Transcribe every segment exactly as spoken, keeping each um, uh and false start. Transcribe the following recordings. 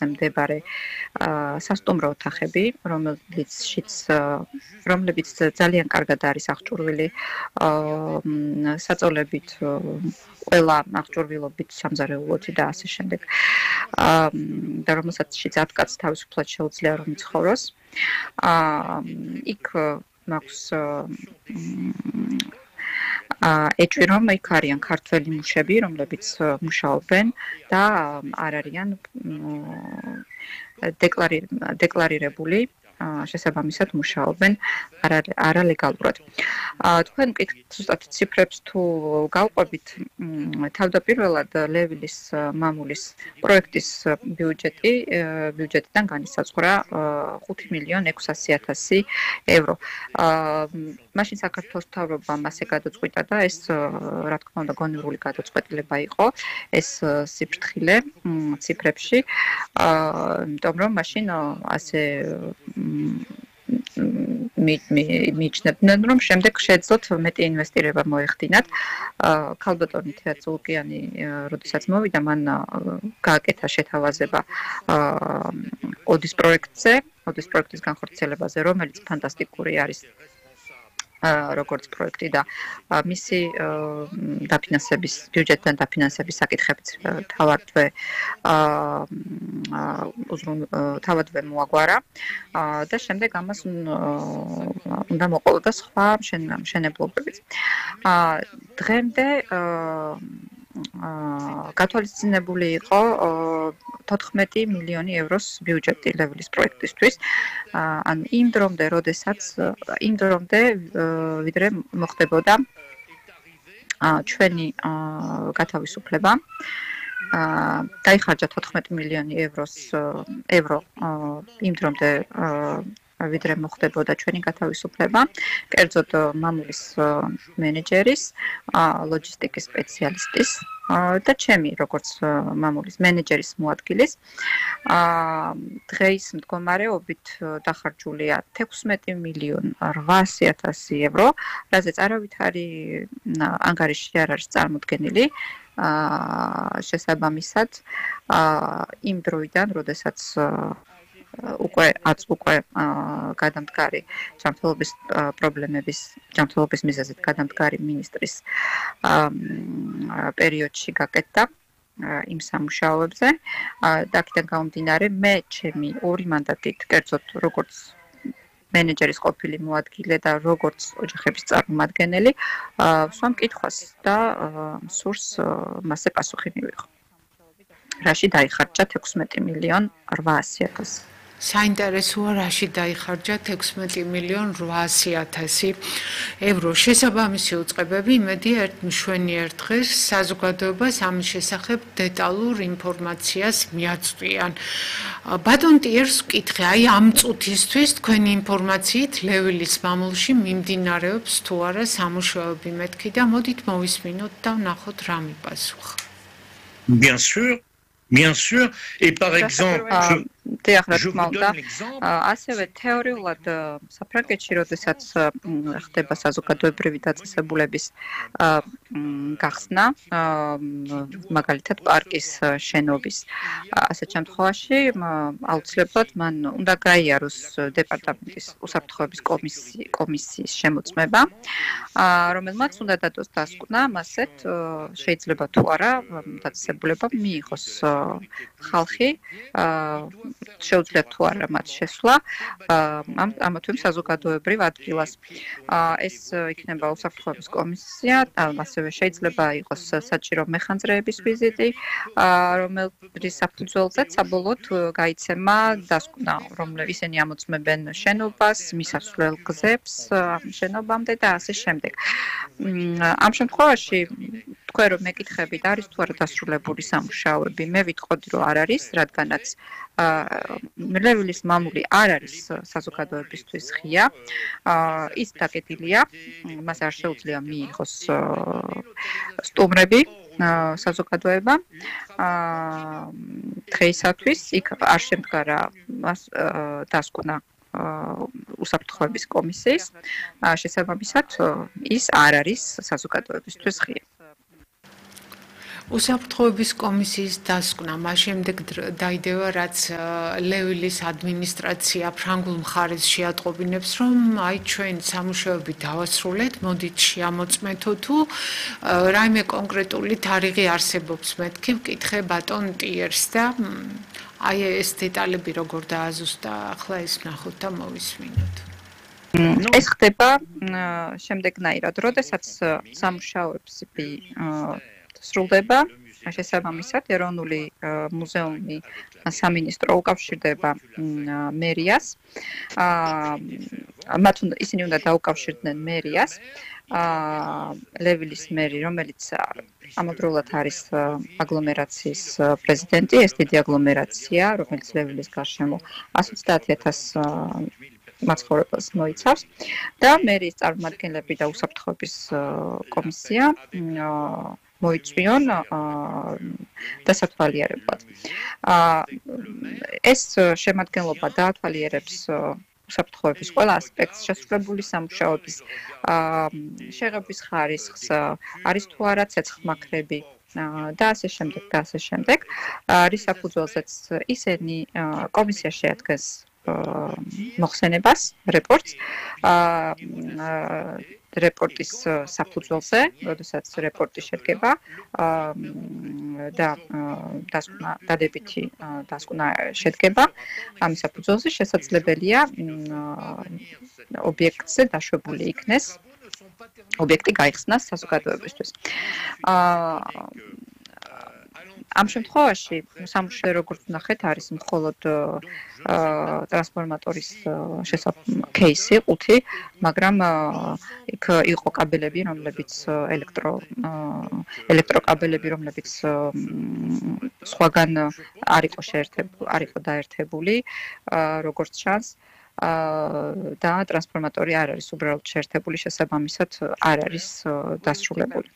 მდებარე სასტუმრო ოთახები, რომელიცშიც რომლებიც ძალიან კარგად არის აღჭურვილი საწოლებით, ყველა აღჭურვილობით სამზარეულოთი და ასე შემდეგ. და რომელსაც ათ კაცს თავისუფლად შეუძლია რომ იცხოვროს. იქ მაქვს ეჭვი რომ იქ არიან ქართველი მუშები, რომლებიც მუშაობენ და არ არიან დეკლარირებული შესაბამისად მუშაობენ არალეგალურად. თქვენ ზუსტად ციფრებს თუ გავყვებით, თავდაპირველად ლევილის მამულის პროექტის ბიუჯეტი ბიუჯეტიდან განისაზღვრა ხუთი მილიონი ექვსასი ათასი ევრო. მაშინ საქართველოს მთავრობამ ასე გადაწყვიტა და ეს რა თქმა უნდა გონივრული გადაწყვეტილება იყო ეს სიფრთხილე ციფრებში, იმიტომ რომ მაშინ ასე მიიჩნევდნენ რომ შემდეგ შეეძლოთ მეტი ინვესტირება მოეხდინათ. ქალბატონი თეატ ზულკიანი როდესაც მოვიდა, მან გააკეთა შეთავაზება ოდის პროექტზე, ოდის პროექტის განხორციელებაზე, რომელიც ფანტასტიკური არის როგორც პროექტი და მისი დაფინანსების ბიუჯეტიდან დაფინანსების საკითხებიც თავადვე თავადვე მოაგვარა და შემდეგ ამას უნდა მოყოლოდა სხვა მშენებლობებიც. დღემდე გათვალისწინებული იყო თოთხმეტი მილიონი ევროს ბიუჯეტი ლევილის პროექტისთვის. ან იმ დრომდე, როდესაც იმ დრომდე ვიდრე მოხდებოდა ჩვენი გათავისუფლება. დაიხარჯა თოთხმეტი მილიონი ევროს ევრო იმ დრომდე ვიდრე მოხდებოდა ჩვენი გათავისუფლება. კერძოდ მამულის მენეჯერის, ლოჯისტიკის სპეციალისტის და ჩემი როგორც მამულის მენეჯერის მოადგილის დღეის მდგომარეობით დახარჯულია თექვსმეტი მილიონი რვაასი ათასი ევრო, რაზეც არავითარი ანგარიში არ არის წარმოდგენილი. შესაბამისად იმ დროიდან, როდესაც უკვე აც უკვე გადამდგარი ჯანმრთელობის პრობლემების ჯანმრთელობის მიზეზით გადამდგარი მინისტრის პერიოდში გაკეთდა იმ სამუშაოებზე. აქედან გამომდინარე, მე ჩემი ორი მანდატით, კერძოდ როგორც მენეჯერის ყოფილი მოადგილე და როგორც ოჯახების წარმომადგენელი, ვსვამ კითხვას და სურს მასზე პასუხი მივიღო. რაში დაიხარჯა თექვსმეტი მილიონი რვაასი ათასი. საინტერესოა, რაში დაიხარჯა თექვსმეტი მილიონი რვაასი ათასი ევრო. შესაბამისი უწყებები იმედია ერთ მშვენიერ დღეს საზოგადოებას ამის შესახებ დეტალურ ინფორმაციას მიაწვდიან. ბატონ ტიერს ვკითხე, აი ამ წუთისთვის თქვენი ინფორმაციით ლევილის მამულში მიმდინარეობს თუ არა სამუშაოები მეთქი და მოდით მოვისმინოთ და ვნახოთ რა მიპასუხა. Bien sûr, bien sûr, et par exemple, დიახ, რა თქმა უნდა, ასევე თეორიულად საფრანგეთში, როდესაც ხდება საზოგადოებრივი დაწესებულების გახსნა, მაგალითად პარკის შენობის ასეთ შემთხვევაში, აუცილებლად მან უნდა გაიაროს დეპარტამენტის უსაფრთხოების კომისიის შემოწმება, რომელმაც უნდა დადოს დასკვნა, მასეთ შეიძლება თუ არა დაწესებულება მიიღოს ხალხი, შეუძლიათ თუ არა მათ შესვლა ამ ამა თუ იმ საზოგადოებრივ ადგილას. ეს იქნება უსაფრთხოების კომისია, ასევე შეიძლება იყოს საჭირო მეხანძრეების ვიზიტი, რომლის საფუძველზეც საბოლოოდ გაიცემა დასკვნა, რომლებიც ისინი ამოწმებენ შენობას, მისასვლელ გზებს შენობამდე და ასე შემდეგ. ამ შემთხვევაში თქვენ რომ მეკითხებით, არის თუ არა დასრულებული სამუშაოები, მე ვიტყოდი რომ არ არის, რადგანაც ლევილის მამული არ არის საზოგადოებისთვის ღია, ის დაკეტილია, მას არ შეუძლია მიიღოს სტუმრები საზოგადოება. დღეისათვის იქ არ შემდგარა დასკვნა უსაფრთხოების კომისიის, შესაბამისად ის არ არის საზოგადოებისთვის ღია. უსაფრთხოების კომისიის დასკვნა მას შემდეგ დაიდევა, რაც ლევილის ადმინისტრაცია ფრანგულ მხარეს შეატყობინებს, რომ აი ჩვენ სამუშაოები დავასრულეთ, მოდით შეამოწმეთო თუ რაიმე კონკრეტული თარიღი არსებობს, მეთქი ვკითხე ბატონ ტიერს და აი ეს დეტალები როგორ დააზუსტა, ახლა ეს ვნახოთ და მოვისმინოთ. ეს ხდება შემდეგნაირად, როდესაც სამუშაოები სრულდება, შესაბამისად ეროვნული მუზეუმი სამინისტრო უკავშირდება მერიას. მათ ისინი უნდა დაუკავშირდნენ მერიას. ლევილის მერი, რომელიც ამავდროულად არის აგლომერაციის პრეზიდენტი, ეს დიდი აგლომერაცია, რომელიც ლევილის გარშემო εκατს ოცდაათი ათასი მაცხოვრებელს მოიცავს და მერის წარმომადგენლები და უსაფრთხოების კომისია მოიწვიონ დასათვალიერებლად. ეს შემადგენლობა დაათვალიერებს უსაფრთხოების ყველა ასპექტს, შესრულებული სამუშაოების შეღების ხარისხს, არის თუ არა ცეცხლმაქრები და ასე შემდეგ და ასე შემდეგ. რის საფუძველზეც ისინი კომისია შეადგენს მოხსენებას, რეპორტს, რეპორტის საფუძველზე, როდესაც რეპორტი შედგება და დასკვნა დადებითი დასკვნა შედგება, ამის საფუძველზე შესაძლებელია ობიექტზე დაშვებული იქნეს, ობიექტი გაიხსნას საზოგადოებისთვის. ამ შემთხვევაში სამუშაო როგორც ნახეთ არის მხოლოდ ტრანსფორმატორის кейსი ყუთი, მაგრამ იქ იყო კაბელები, რომლებიც ელექტრო ელექტროკაბელები, რომლებიც სხვაგან არ იყო შეერთებული, არ იყო დაერთებული, როგორც ჩანს. და ტრანსფორმატორი არ არის უბრალოდ შეერთებული, შესაბამისად არ არის დასრულებული.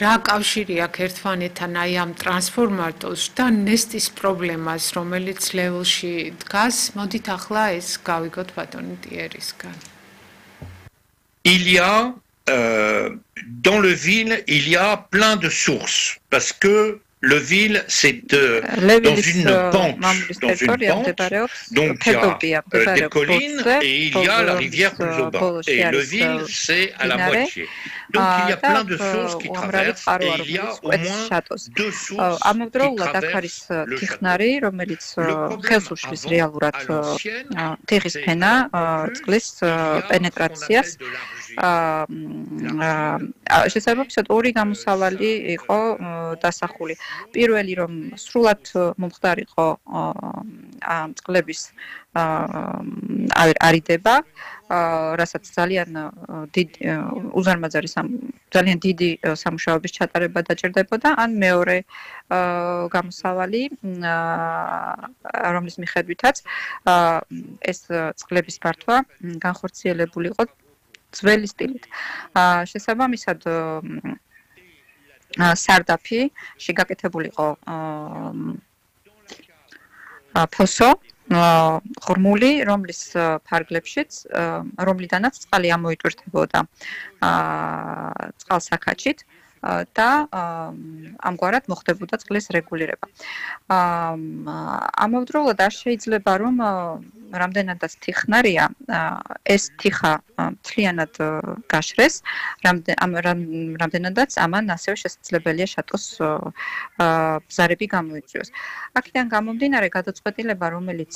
რა კავშირი აქვს ერთმანეთთან აი ამ ტრანსფორმატორს და ნესტის პრობლემას, რომელიც ლეველში დგას? მოდით ახლა ეს გავიგოთ ბატონი ტიერისგან. Il y a euh, dans le ville, il y a plein de sources parce que le ville c'est euh, dans une pente, dans une pente, donc il y a euh, des collines et il y a la rivière plus au bas. Et le ville c'est à la moitié. Donc il y a plein de sources qui traversent et il y a au moins deux sources qui traversent le ტიხნარი, რომელიც ხელს უშლის რეალურად ტიხის ფენა, წყლის პენეტრაციას. შესაბამისად ორი გამოსავალი იყო დასახული. პირველი რომ სრულად მომხდარიყო წყლების არიდება, რასაც ძალიან დიდი უზარმაზარი ძალიან დიდი სამუშაოების ჩატარება დაჭირდებოდა, ან მეორე გამოსავალი, რომლის მიხედვითაც ეს წყლების ფართვა განხორციელებული იყო ძველი სტილით. შესაბამისად სარდაფში გაკეთებული იყო ფოსო ღრმული, რომლის ფარგლებშიც, რომლიდანაც წყალი ამოიტვირთებოდა წყალსაქაჩით და ამგვარად მოხდებოდა წყლის რეგულირება. ამავდროულად არ შეიძლება რომ რამდენადაც თიხნარია, ეს თიხა მთლიანად გაშრეს, რამდენადაც ამან ასევე შესაძლებელია შატოს ბზარები გამოიწვიოს. აქედან გამომდინარე გადაწყვეტილება, რომელიც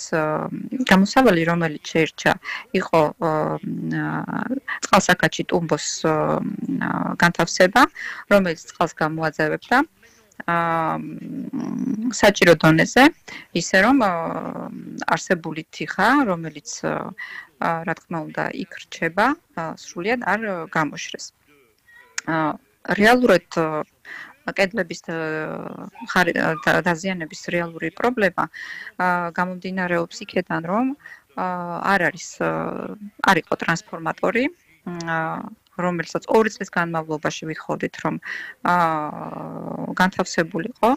გამოსავალი, რომელიც შეირჩა, იყო წყალსაქაჩი ტუმბოს განთავსება, რომელიც წყალს გამოაძევებდა საჭირო დონეზე, ისე რომ არსებული თიხა, რომელიც რა თქმა უნდა იქ რჩება, სრულიად არ გამოშრეს. რეალურად კედლების დაზიანების რეალური პრობლემა გამომდინარეობს იქედან, რომ არ არის არ იყო ტრანსფორმატორი, რომელსაც ორი წლის განმავლობაში ვიხოდით, რომ განთავსებულიყო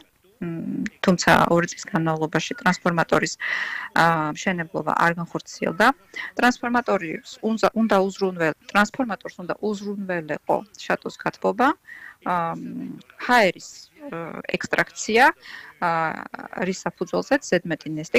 თუმცა ორი წლის განმავლობაში ტრანსფორმატორის მშენებლობა არ განხორციელდა. ტრანსფორმატორს უნდა უნდა უზრუნველ ტრანსფორმატორს უნდა უზრუნველეყო შატოს გათბობა, ჰაერის ექსტრაქცია, რის საფუძველზეც ზედმეტი ნესტი